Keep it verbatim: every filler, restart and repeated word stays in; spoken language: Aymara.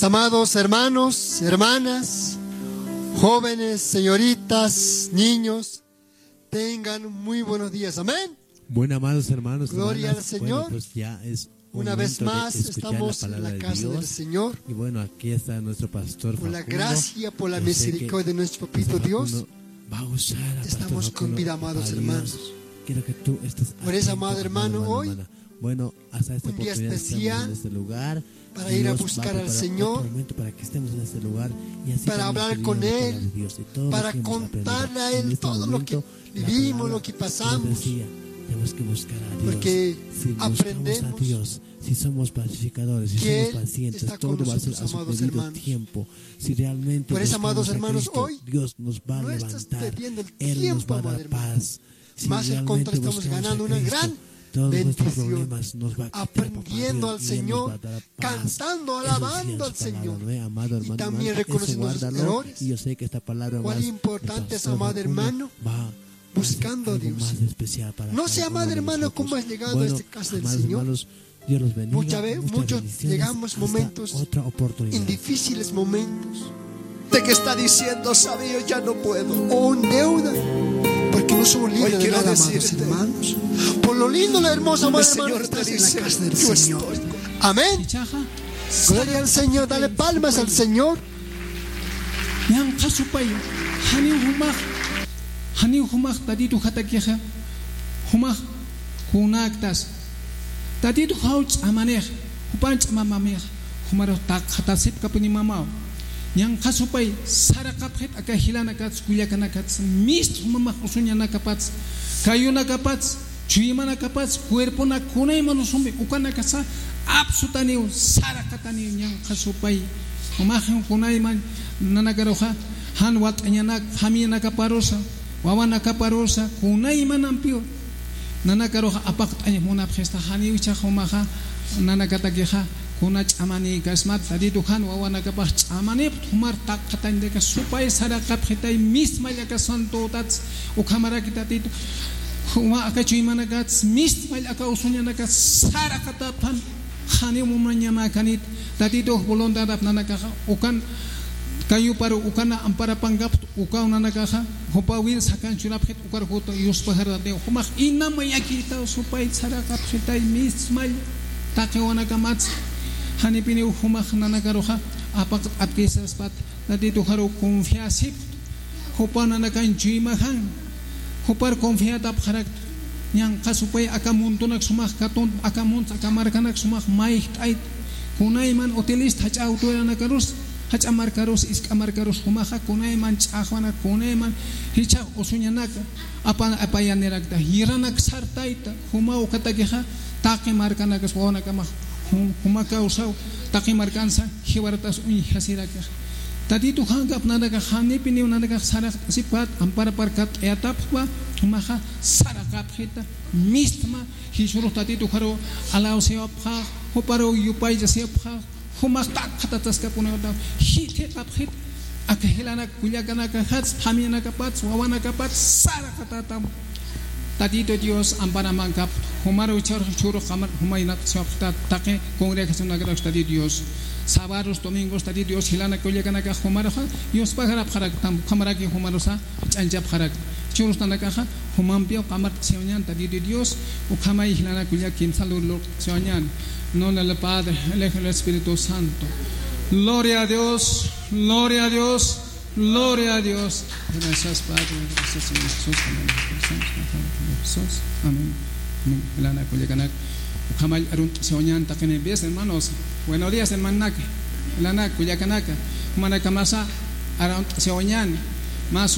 Amados hermanos, hermanas, jóvenes, señoritas, niños, tengan muy buenos días. Amén. Bueno, amados hermanos, Gloria al hermanas, Señor. Bueno, pues ya es un Una vez momento de más escuchar la estamos en palabra la de casa del Dios. Señor. Y bueno, aquí está nuestro pastor Por la Facundo. Gracia, por la Yo sé que misericordia de nuestro pastor papito Dios, Facundo va a usar a pastor estamos Facundo convidando, para amados Dios. Hermanos. Quiero que tú estés Por eso, atento, amado hermano, amado, amado, hoy, hermana. Bueno, hasta esta un día oportunidad estamos en especial este lugar. Para ir a Dios va a buscar al preparar Señor, otro momento para que estemos en este lugar y así para también hablar con recibiendo la palabra Él, de Dios. Y todo lo para que hemos aprendido. Contarle a Él En este todo lo que momento, la vivimos, palabra lo que nos pasamos. Decía, tenemos que buscar a Dios. Porque si buscamos a aprendemos Dios, si somos pacificadores, si que somos Él pacientes, está todo con va a ser nosotros, a su amados debido hermanos. Tiempo. Si realmente Por eso, buscamos amados a hermanos, Cristo, hoy Dios nos va a no está levantar. Perdiendo el Él nos tiempo, va a dar amado hermano. Paz. Si más al realmente contrario, estamos buscamos ganando a una Cristo, gran todos nuestros bendición, problemas nos va a quitar, papá aprendiendo Dios, al y Él nos Señor, va a dar paz. Cantando, eso sí alabando es al su palabra, Señor. ¿No ve? Amado hermano, y también amada, eso reconociendo los guárdalo, errores. Y yo sé que esta palabra va a ser de pastor Facundo, va a ser algo más especial para cada uno de nosotros. Cuán importante es, amado hermano, buscando, amado hermano, cómo has llegado a este casa del Señor. Bueno, amados hermanos, Dios los bendiga. Muchas ve-, muchas bendiciones. Muchos llegamos hasta momentos otra oportunidad. En difíciles momentos. De que está diciendo, "Sabio, ya no puedo." O en deuda. Porque no somos libres de nada, amados hermanos. Hoy quiero decirte, por lo lindo, lo hermoso, amado hermano, que estás en la casa del Señor. El Señor te dice, "Yo estoy." Amén. Gloria al Señor. Dale palmas al Señor. Ñanqha supay, janiw jumax, janiw jumax Tatitu jatakixa, jumax kunaktas. Tatitu jaw ch'amanix, jupan ch'amamamix, jumarux taqxatasipkapuni mamaw. Ñanqha supay, saraqapxit aka jilanakats, kullakanakats, mist jumamax usuñanakapats, kayunakapats, chuymanakapats, cuerponak kunayman usumpi, ukanakasa apsutaniw, saraqataniw ñanqha supay. Jumaxin kunayman nanakaruxa, jan wat'añanak, familianakaparusa, wawanakaparusa, kunaymanampiw nanakaruxa apaqt'añ munapxista, janiw jichhax jumaxa, nanakatakixa, kuna ch'amanïkasmat, Tatitu jan wawanakapax ch'amanïpt, jumar taqxatañ de que supay saraqapxitay, mistmall aka santotats, ukhamaraki Tatitu, juma aka chuymanakats, mistmall aka usuñanakats, saraqatapxan, janiw munañamäkanit, Tatitux voluntadap nanakaxa, ukan kayuparu, ukana amparapankapt, ukaw nanakaxa, jupawir sakan churapxit, ukar juta, yuspajarataniw, jumax inam mayakïtaw, supay saraqapxitay, mistmall, taqi wawanakamatsa, janipiniw jumax nanakaruxa, apaqt'apkisaspat, Tatituxaru confiasipxta, jupa nanakañ chuymajan, jupar confiatapxarakta, ñanqha supay aka muntunak sumax katun, aka munt, aka markanak sumax mayjt'ayta, kunayman utilista, jach'a autoridadnakarus, jach'a markarus, isk'a markarus jumaxa, kunayman ch'axwanak, kunayman jichhax usuñanaka, apa-, apayanirakta, yiranak sartayta, juma ukatakixa, taqi markanakas wawanakamax, jum-, juma kawsaw, taqi markansa, jiwaratas uñjasirakixa. Tatitu jankap nanakax, janipiniw nanakax saraqt'asipxat, amparaparkat'ayatapxpa, jumaxa, saraqapxita, mistma, jichhürux Tatituxaru, alawsayapxax, juparu yupaychasayapxax, jumax taqxatataskapunïtaw, jithiqapxit, aka jilanak kullakanakajats, familianakapats, wawanakapats, saraqatatam. Tatitu Dios amparamankapt, jumaru jichhürux, jichhürux qamar, jumaynat siwapxtat, taqi congregacionakarux Tatitu Dios. Sábados, domingos, Tatitu Dios, jilanak kullakanakax jumaruxa, yuspajarapxaraktam, ukhamaraki jumarusa, ch'anchapxarakta. Jichhürus nanakaxa, jumampiw qamart'asiwañän Tatitu Dios, ukhamay jilanak kullaka kimsa lurlurt'asiwañän. En nombre del Padre, el Hijo y el Espíritu Santo. Gloria a Dios, gloria a Dios, gloria a Dios. Gracias, Padre, gracias, Señor Jesús, amén. Jesús, amén. Amén. Jilanak kullakanak, ukhamay arunt'asiwañän taqinimpis, hermanos. Buenos días, hermanaka. Jilanak kullakanaka. Jumanaka masa arunt'asiwañän. Mas